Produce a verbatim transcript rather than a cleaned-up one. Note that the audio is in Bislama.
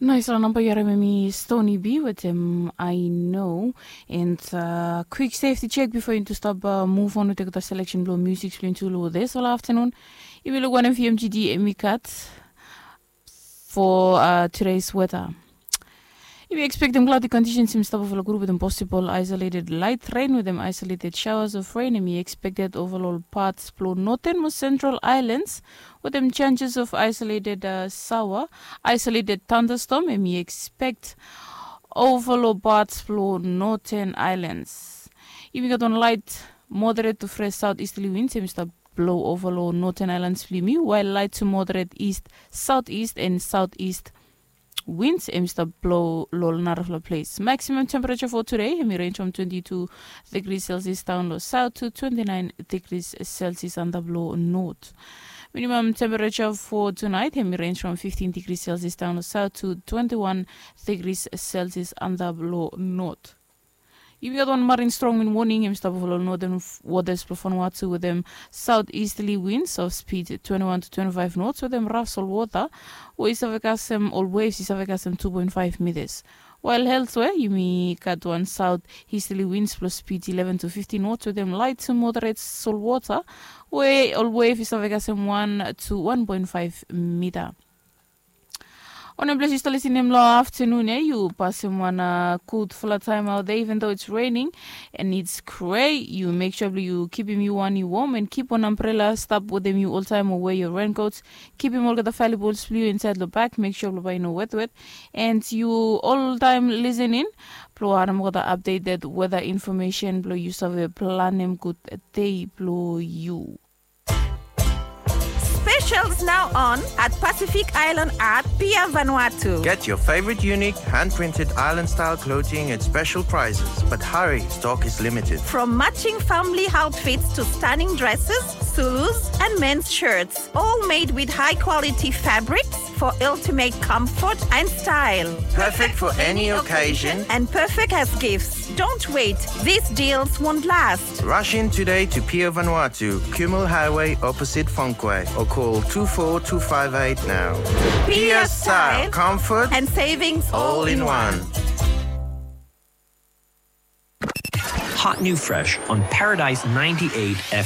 Naisfala namba yu harim em i Stony B wetem I Know. And kwik sefti jek bifo yuntu stap muv on wetem olgeta seleksen blong musik blong yuntu long disfala aftanun. Yumi luk wanem V M G D em i gat for today's weather. Yumi ekspektem klaudi kondisens em i stap ova long grup wetem posibol aesoleted lait ren wetem aesoleted shaoas of ren em i ekspekted ova long ol pats blong noten mo sentral aelans, wetem senses of aesoleted saoa, aesoleted tandastom em i ekspekt ova long pats blong noten aelans. Yumi gat wan lait moderet tu fres saot istli wins em i stap blou ova long noten aelans blong yumi, wael lait tu moderet ist, saot ist en saot ist wins em i stap blou long narafala ples. Maksimam tempereja fo tude em i renj from twenti tu degri selsias daon long saot tu twenti naen degri selsias antap long not. Minimam tempereja fo tunaet em i renj from fiftin degri selsias daon long saot tu twenti wan degri selsias antap long not. Yumi gat wan marin strong win woning em i stap ova long noten wotas blong Vanuatu wetem saot istli wins of spid twenti wan tu twenti faef nots wetem raf solwota, we i save kasem ol wevs i save kasem tu poen faef mitas. Wael elswea yumi gat wan saot istli wins blong spid ileven tu fiftin nots wetem lait tu moderet solwota, we ol wev i save kasem wan tu wan poen faef mita. Wanem ples yu stap lisenem long aftanun ya, yu pasem wan gudfala taem aot ya, even though it's raining and it's grey, yu mek sua blong yu kipim yu wan yu wom and kip wan ambrela stap wetem yu oltaem o wea yu renkots. Kipim olgeta valuables blong yu insaed long bag, mek sua blong bae i no wetwet. And yu oltaem lisening blong harim olgeta updated weather information blong yu save planem gud dei blong yu. Specials now on at Pacific Island at Pier Vanuatu. Get your favorite unique hand-printed island-style clothing at special prices, but hurry, stock is limited. From matching family outfits to stunning dresses, Zulus, and men's shirts, all made with high-quality fabrics for ultimate comfort and style. Perfect for any occasion and perfect as gifts. Don't wait. These deals won't last. Rush in today to Pier Vanuatu, Kumul Highway, opposite Fonque, or call two four two five eight now. Pier Style, comfort and savings all in one. Hot new fresh on Paradise ninety-eight F M.